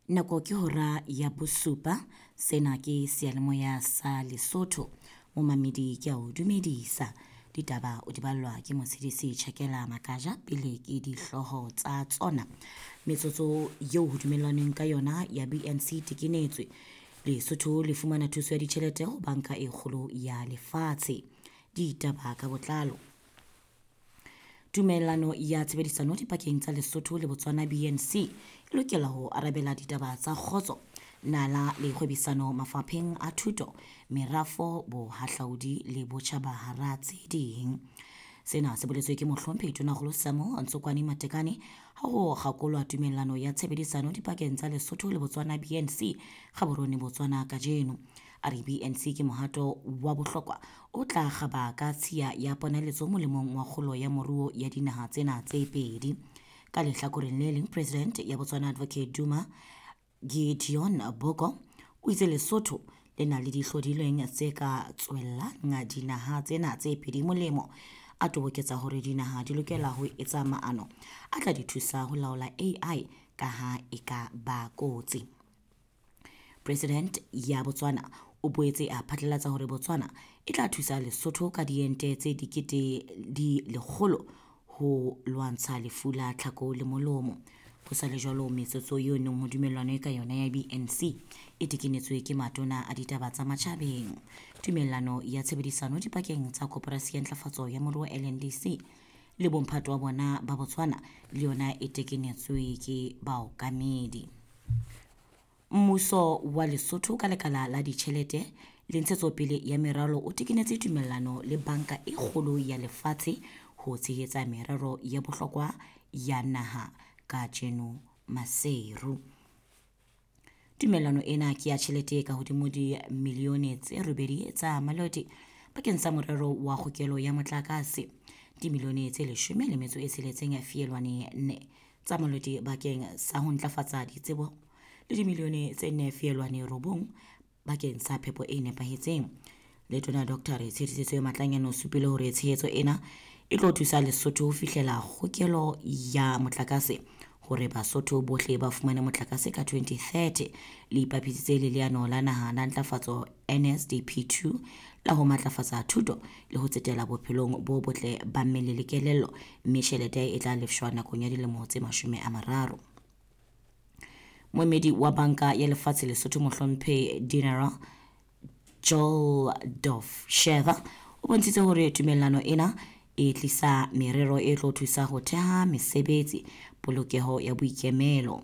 Nako ke hora ya bosupa. Sena ke seyalemoya sa Lesotho. Momamedi ke a o dumedisa. Ditaba o di ballwa ke Motshedisi Tjhakela Makaja pele ke dihlooho tsa tsona. Metsotso eo ho dumellanweng ka yona ya BNC tekenetswe. Lesotho le fumana thuso ya ditjhelete ho banka e kgolo ya lefatshe. Ditaba ka botlalo. Tumellano ya tshebedisano dipakeng tsa Lesotho le Botswana BNC e lokela ho arabela ditaba tsa kgotso, nala le kgwebisano mafapheng a thuto, merafo, bohahlaudi le botjhaba hara tse ding. Sena se boletswe ke mohlomphehi Tonakgolo Samuel Ntsokwane Matekane ha ho kgakolwa tumellano ya tshebedisano dipakeng tsa Lesotho le Botswana BNC Gaborone Botswana kajeno. A re BNC ke mohato wa bohlokwa o tla kgaba ka tshiya ya ponaletso molemong wa kgolo ya moruo ya dinaha tsena tse pedi. Ka lehlakoreng le leng, President ya Botswana Advocate Duma Gideon Boko o itse Lesotho le na le dihlodilweng tse ka tswellang dinaha tsena tse pedi molemo. A toboketsa hore dinaha di lokela ho etsa maano a tla di thusa ho laola AI ka ha e ka ba kotsi. President ya Botswana o boetse a phatlalatsa hore Botswana e tla thusa Lesotho ka diente tse dikete di lekgolo ho lwantsha lefu la tlhako le molomo. Ho sa le jwalo, metsotso eo neng ho dumellanwe ka yona ya BNC e tekenetswe ke matona a ditaba tsa matjhabeng. Tumellano ya tshebedisano dipakeng tsa Koporasi ya Ntlafatso ya Moruo LNDC le bomphato wa bona ba Botswana le yona e tekenetswe ke baokamedi. Mmuso wa Lesotho ka lekala la ditjhelete le ntshetsopele ya meralo o tekenetse tumellano le banka e kgolo ya lefatshe ho tshehetsa merero ya bohlokwa ya naha kajeno Maseru. Tumellano ena ke ya tjhelete e ka hodimo dimilione tse 8 tsa maloti bakeng sa morero wa kgokelo ya motlakase, dimilione tse 16 feelwane 4 tsa maloti bakeng sa ho ntlafatsa ditsebo le dimilione tse 4 feelwane 9 bakeng sa phepo e nepahetseng. Letona Dr. Tshedisitse Matlanyane o supile hore tshehetso ena e tlo thusa Lesotho ho fihlela kgokelo ya motlakase hore Basotho bohle ba fumane motlakase ka 2030. Le ipapisitse le leano la naha la ntlafatso NSDP2 la ho matlafatsa thuto le ho tsetela bophelong bo botle ba mmele le kelello, mme tjhelete e tla lefshwa nakong ya dilemo tse 30. Moemedi wa banka ya lefatshe Lesotho mohlomphehi Dinara Joel Sheva o bontshitse hore tumellano ena e tlisa merero e tlo thusa ho theha mesebetsi, polokeho ya boikemelo.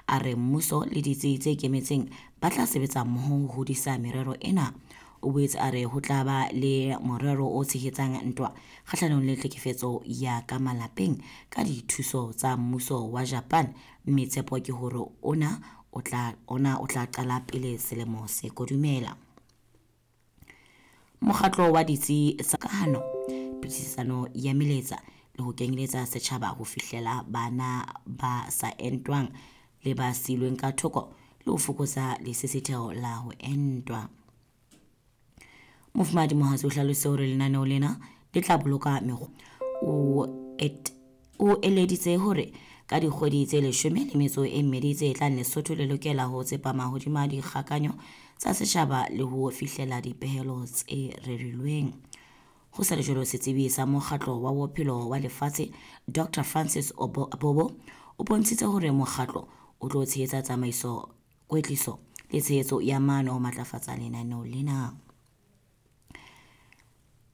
A re mmuso le ditsi tse ikemetseng ba tla sebetsa mmoho ho hodisa merero ena. O boetse a re ho tla ba le morero o tshehetsang ntwa kgahlanong le tlhekefetso ya ka malapeng ka dithuso tsa mmuso wa Japan, mme tshepo ke hore ona o tla qala pele selemo se kodumela. Mokgatlo wa ditsi tsa kahano, phetisano ya meletsa le ho kenyeletsa setjhaba ho fihlela bana ba sa entwang le ba silweng ka thoko le ho fokotsa lesisitheho la ho entwa. Mofumahadi Mohatsi o hlalositse hore lenaneo lena le tla boloka mekgwa. O eleditse hore ka dikgwedi tse 12 tse tlang Lesotho le lokela ho tsepama hodima dikgakanyo tsa setjhaba le ho fihlela dipehelo tse rerilweng. Ho sa le jwalo, setsebi sa mokgatlo wa bophelo wa lefatshe Dr. Francis Abobo o bontshitse hore mokgatlo o tlo tshehetsa tsamaiso, kwetliso le tshehetso ya maano ho matlafatsa lenaneo lena.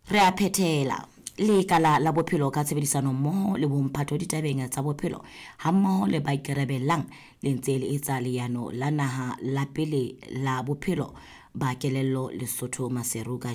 Re a phethela. Lekala la bophelo ka tshebedisano mmoho le bomphato ditabeng tsa bophelo hammoho le ba ikarabellang le ntse le etsa leano la naha la pele la bophelo ba kelello Lesotho Maseru kajeno.